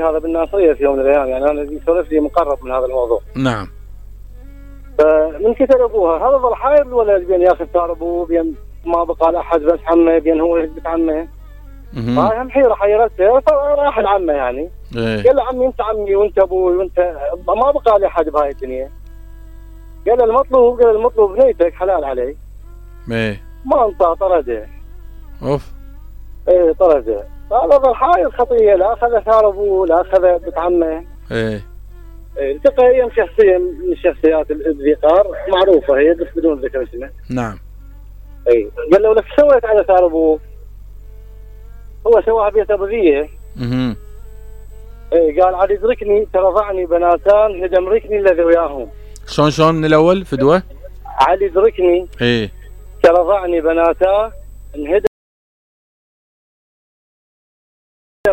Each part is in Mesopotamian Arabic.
هذا بالناصريه في يوم من الايام، يعني انا يسولف لي مقرب من هذا الموضوع. نعم. فمن كثر ابوها هذا ظل حاير الولد بين ياخذ ثار ابوه، بين ما بقى لاحد بس عمه، بين هو يثبت عمه. هاي هم حيره حيرته، فراح لعمه يعني. قال له عمي انت عمي وانت ابوي وانت ما بقى لي احد بهاي الدنيا. قال له المطلوب بنيتك حلال علي. ما انطى، طرده. اوف. ايه طرده. هذا ظل حاير خطيه، لا اخذ ثار ابوه لا اخذ بنت عمه. التقى ايام شخصيه من الشخصيات الذكار معروفه هي بس بدون ذكر اسمه. نعم. اي قال له لك سويت على ثار ابوه؟ هو سواها بيت ابو ذيه. اي قال عاد يدركني ترضعني بناتان هدم ركني الذي وياهم. شلون من الاول فدوه؟ عاد يدركني ترضعني بناتان هدم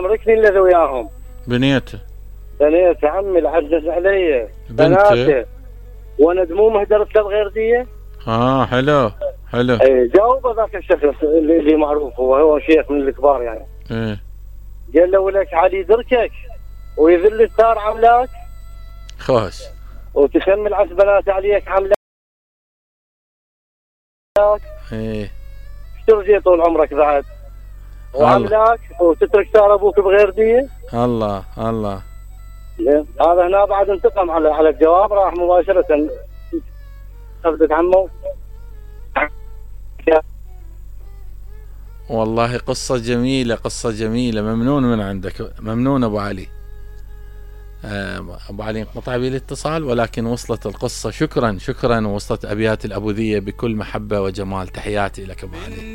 ركني الذي وياهم. بنيته عمي العجز علي بناته وانا دمومه درت له بغير ديه. حلو. اي جاوب ذاك الشخص اللي معروف هو شيخ من الكبار يعني. قال له ولك علي يدركك ويذل الثار عملاك خوش وتسمي العسبنات عليك عملاك. ترجي طول عمرك بعد وعملاك وتترك ثار ابوك بغير ديه. الله هذا هنا بعد انتقم على الجواب، راح مباشرة أخذت عمه. والله قصة جميلة ممنون من عندك، ممنون أبو علي. أبو علي انقطع بي الاتصال ولكن وصلت القصة. شكرا ووصلت أبيات الأبوذية بكل محبة وجمال. تحياتي لك أبو علي.